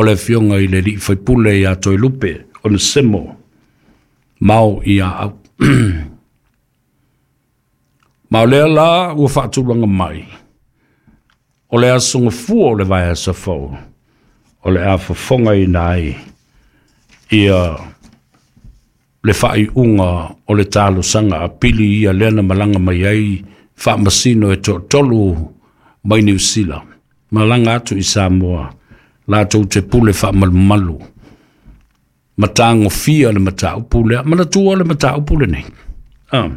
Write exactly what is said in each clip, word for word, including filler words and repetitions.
O le afioga i le alii faipule ia Toelupe Onesemo Mao ia au. Ma o lea la ua faatulaga mai, o le aso gafua o le vaiaso fou, o le a fofogaina ai ia le faaiuga o le talosaga apili ia lea na malaga mai ai faamasino e toatolu mai Niu Sila, malaga atu i Samoa, latou te pule faamalumalu ma tagofia le mataupu lea. Manatua le mataupu lenei. Ah.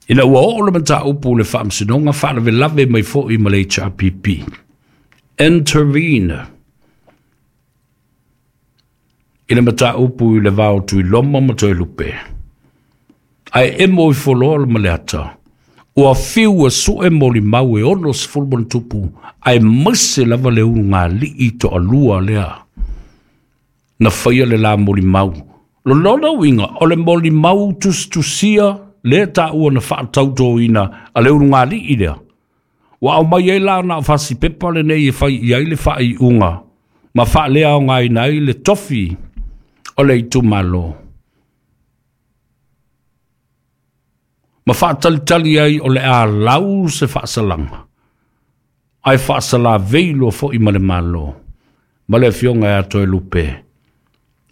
Ina ua oo le mataupu le faamasinoga faalavelave mai foi ma le H R P P. Intervene i le mataupu i le vao Tuiloma ma Toelupe. Ae emo i foloa le maleata, ua fiu e sue molimau e ono sefulu ma ona tupu, ae maise lava le ulugalii toalua lea na faia le la molimau. Lona uiga, o le molimau tusitusia lea taua na faatautoina a le ulugalii lea. Ua aumai ai la na o fasipepa lenei e fai i ai le faaiuga ma faaleaogaina ai le tofi o le itumalo. Ma faatalitali ai o le a lau se faasalaga, ae faasalavei loa foi ma le Malo, ma le afioga ia Toelupe,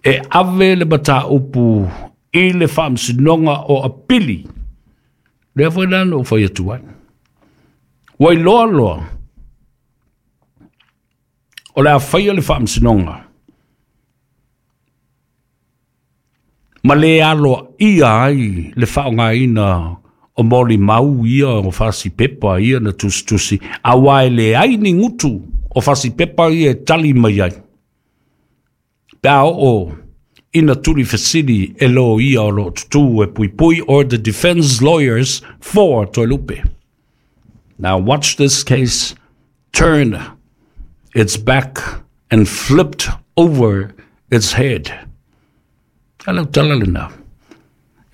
e ave le mataupu i le faamasinoga o apili. Lea foi la na ou fai atu ai. Ua iloa loa, o le a faia le faamasinoga, ma le aloaia ai le faaaogaina o molimau ia o fasipepa ia na tusitusi, aua e leai ni gutu o fasipepa ia e tali mai ai. Pe a oo ina tuli fesili e loia o loo tutū e puipui, or the defense lawyers for Toelupe. Now watch this case turn its back and flipped over its head. A lau tala lena.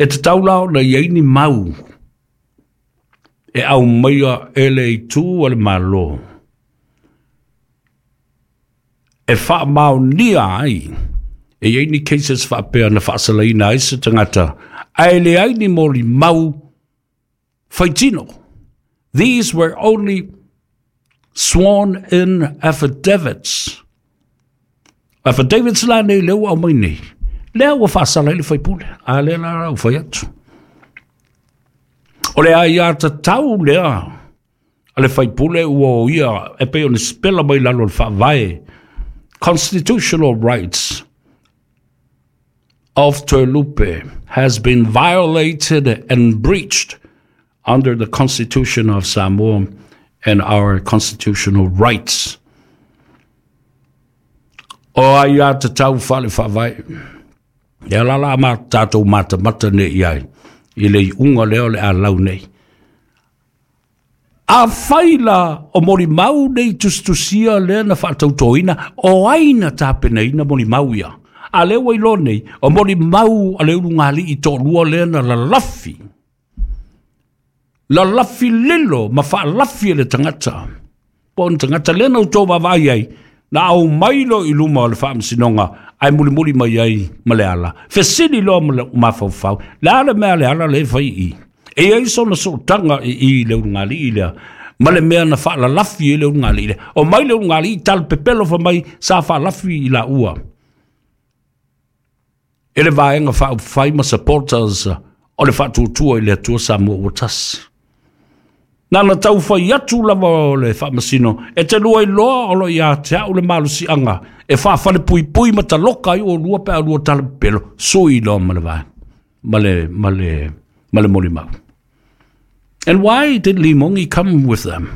E te taula ona iai ni mau e au maia e le itu a le Malo. E whaamaonia ai e iai ni cases whaapea na whaasalaina ai se tangata. Ae le ai ni moli mau whaitino. These were only sworn in affidavits. Affidavits la nei leo au mai nei. Lea ua whaasala i le whaipule. A lea la rau whai atu. O le ai ata tau lea. A le whaipule ua o ia e pe o ni spela mai lalo le whaavae. Constitutional rights of Toelupe has been violated and breached under the Constitution of Samoa and our constitutional rights. O ai ata tau whale whaavae. Ia la la ma tātou matamata nei iai, i le unga leo le a lau nei. A whaila o molimau nei tustusia lea na whaatautoina, o aina tāpenaina molimau ia. A leo wailo nei, o molimau a le ulungali i tōlua lea na lalafi. Lalafi lilo ma whaalafi e le tangata. Po o tangata lea na utou vavai ai, na au mailo i luma o le whaamasinonga, ai muli muli mai ai ma le ala. Fesili loa ma le mafaufau, le ala mea le ala le whai i. E ai sona sootanga i i le ulungali i lea, ma le mea na whaalalafi e le ulungali i lea. O mai le ulungali i tal pepelo fa mai sa whaalafi i la ua. E le vaenga whaupawhai ma supporters o le whaatutua i le atua Samoa ua tasi. Nā na tau whai atu lava o le whaamasino, e te lua i loa o lo ia te au le malusianga, e whaafale pui pui ma taloka i o lua pe a lua tala pelo, sui loa ma le vae, ma le, ma le, ma le molimau. And why did Limongi come with them?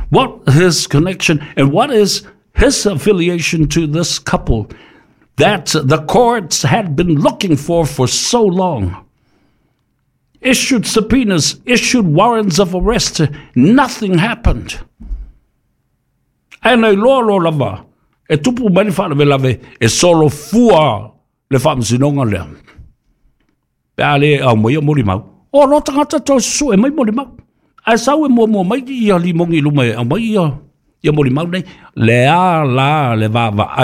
What his connection and what is his affiliation to this couple that the courts had been looking for for so long? Issued subpoenas, issued warrants of arrest, nothing happened. Ae nei loa loa lava, e tupu mai le faalavelave, e solo fua le faamasinoga lea. Pe a le au mai o molimau. O lo tangata toe susu e mai molimau. Ae sau e muamua mai ia Limongi i luma e aumai ia, ia molimau nei. Le a la le vaavaai.